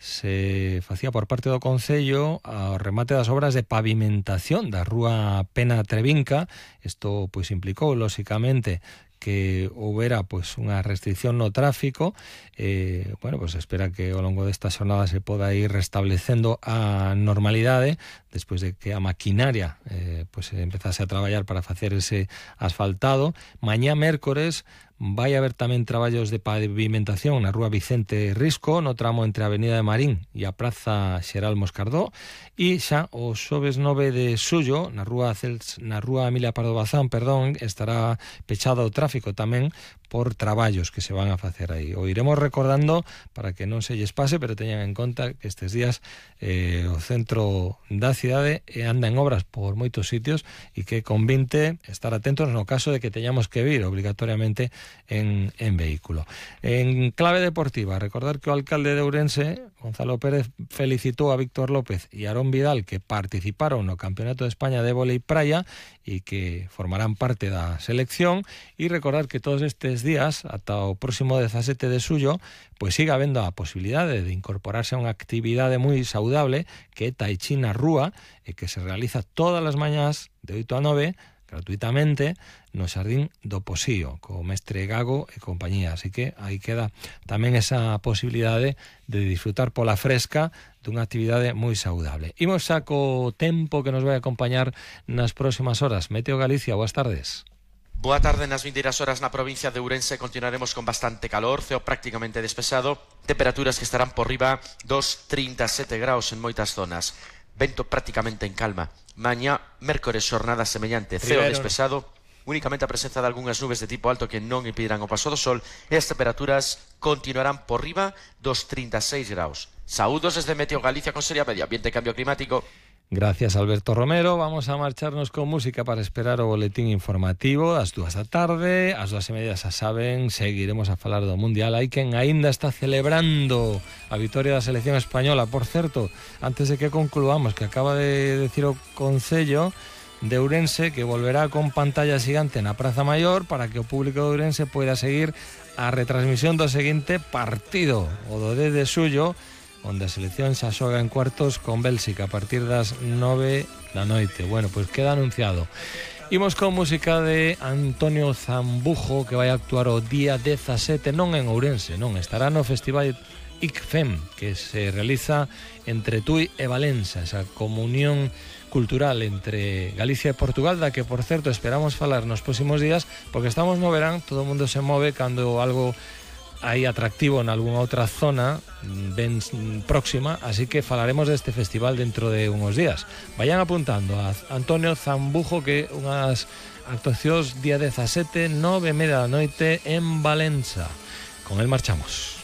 se facía por parte do Concello ao remate das obras de pavimentación da rúa Pena Trevinca. Isto pois implicou, lóxicamente, que houbera pois unha restricción no tráfico. Pois espera que ao longo desta xornada se poda ir restablecendo a normalidade despois de que a maquinaria pois empezase a traballar para facer ese asfaltado. Mañá mércores vai haber tamén traballos de pavimentación na rúa Vicente Risco, no tramo entre a Avenida de Marín e a Praza Xeral Moscardó, e xa o xoves 9 de xullo na rúa Emilia Pardo Bazán, estará pechado o tráfico tamén por traballos que se van a facer aí. O iremos recordando para que non se lles pase, pero teñan en conta que estes días o centro da cidade anda en obras por moitos sitios e que convinte estar atentos no caso de que teñamos que vir obligatoriamente en vehículo. En clave deportiva, recordar que o alcalde de Ourense, Gonzalo Pérez, felicitou a Víctor López e Aarón Vidal, que participaron no Campeonato de España de Vólei Praia e que formarán parte da selección, e recordar que todos estes días, ata o próximo 17 de xullo, pois siga habendo a posibilidade de incorporarse a unha actividade moi saudable que é Tai Chi na rúa, e que se realiza todas as mañás de 8 a 9, gratuitamente, no Xardín do Posío, co mestre Gago e compañía. Así que aí queda tamén esa posibilidade de disfrutar pola fresca dunha actividade moi saudable. Imos xa co tempo que nos vai acompañar nas próximas horas. Meteo Galicia, boas tardes. Boa tarde. Nas vindeiras horas na provincia de Ourense continuaremos con bastante calor, ceo prácticamente despexado, temperaturas que estarán por riba dos 37 graus en moitas zonas, vento prácticamente en calma. Mañá, mércores, xornada semellante, ceo despexado, únicamente a presenza de algunhas nubes de tipo alto que non impedirán o paso do sol, e as temperaturas continuarán por riba dos 36 graus. Saúdos desde Meteo Galicia con Seria Medio Ambiente e Cambio Climático. Gracias, Alberto Romero. Vamos a marcharnos con música para esperar o boletín informativo ás 2 da tarde. Ás 2:30 xa saben, seguiremos a falar do Mundial. Hai quen aínda está celebrando a vitoria da selección española. Por certo, antes de que concluamos, que acaba de decir o Concello de Ourense que volverá con pantalla xigante na Praza Maior para que o público de Ourense poida seguir a retransmisión do seguinte partido, o do 10 de xullo, onde a selección xa xoga en cuartos con Bélxica a partir das 9 da noite. Bueno, pois queda anunciado. Imos con música de Antonio Zambujo, que vai actuar o día 17, non en Ourense, non, estará no Festival ICFEM, que se realiza entre Tui e Valença, esa comunión cultural entre Galicia e Portugal, da que, por certo, esperamos falar nos próximos días, porque estamos no verán, todo o mundo se move cando algo hai atractivo en algunha outra zona ben próxima, así que falaremos deste festival dentro de uns días. Vayan apuntando a Antonio Zambujo, que unhas actuacións día 17, 9:30 da noite en Valença. Con el marchamos.